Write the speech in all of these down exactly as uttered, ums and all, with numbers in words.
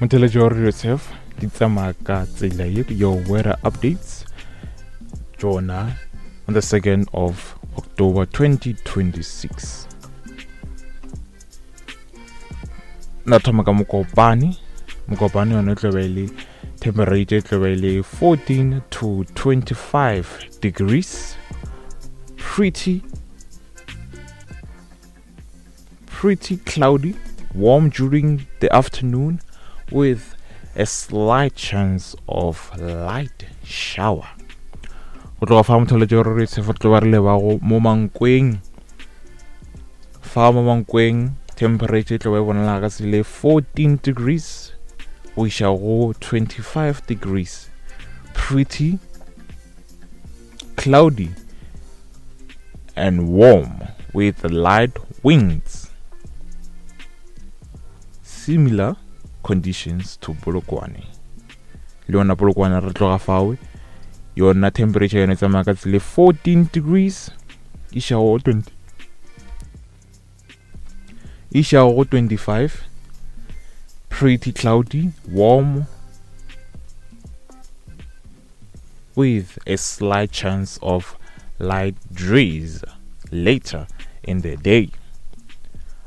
Motheletši wa Radio Turf di tsamaya ka tsela ye. Your weather updates tšona on the second of October twenty twenty-six. Na thoma ka Mokopane. Mokopane yona e tlo be e le temperature e tlo be e le fourteen to twenty-five degrees. Pretty, pretty cloudy, warm during the afternoon with a slight chance of light shower. Go tloga fa motheletši wa Radio Turf re tlo ba re leba go mo Mankweng. Fa mo Mankweng temperature e tlo ba e bonala ka tsela e fourteen degrees go iša go twenty-five degrees. Pretty cloudy and warm with light winds. Similar conditions to Polokwane. Le yona Polokwane re tloga fawe, yona temperature yone e tsamaya ka tsela e fourteen degrees iša go twenty, iša go twenty-five. Pretty cloudy, warm with a slight chance of light drizzle later in the day.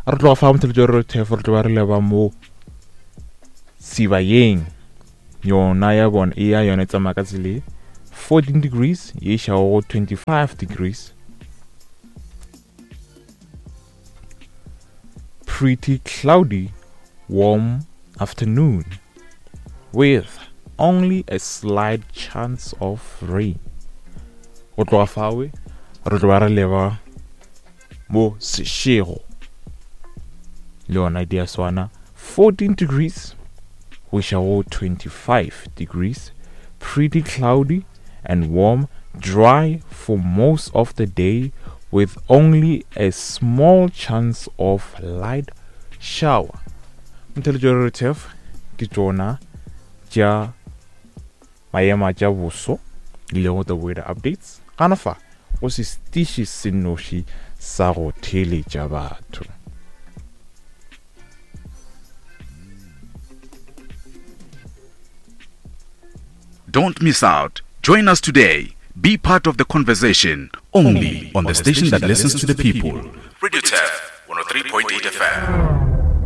Re tloga fa motheletši wa Radio Turf re tlo ba re leba mo Sibayeng. Yona ya bona e ya yona e tsamaya ka tsela e fourteen degrees ye iša go twenty-five degrees. Pretty cloudy, warm afternoon with only a slight chance of rain. Go tloga fawe re tlo ba re leba mo Seshego. Le yona di a swana, fourteen degrees go iša go twenty-five degrees. Pretty cloudy and warm, dry for most of the day with only a small chance of light shower. Motheletši wa Radio Turf ke tšona tša maemo a tša boso le go the weather updates. Gana fa go se setiši se nnoši sa go theeletša batho. Don't miss out. Join us today. Be part of the conversation only on the station that listens to the people. Radio Turf one oh three point eight F M.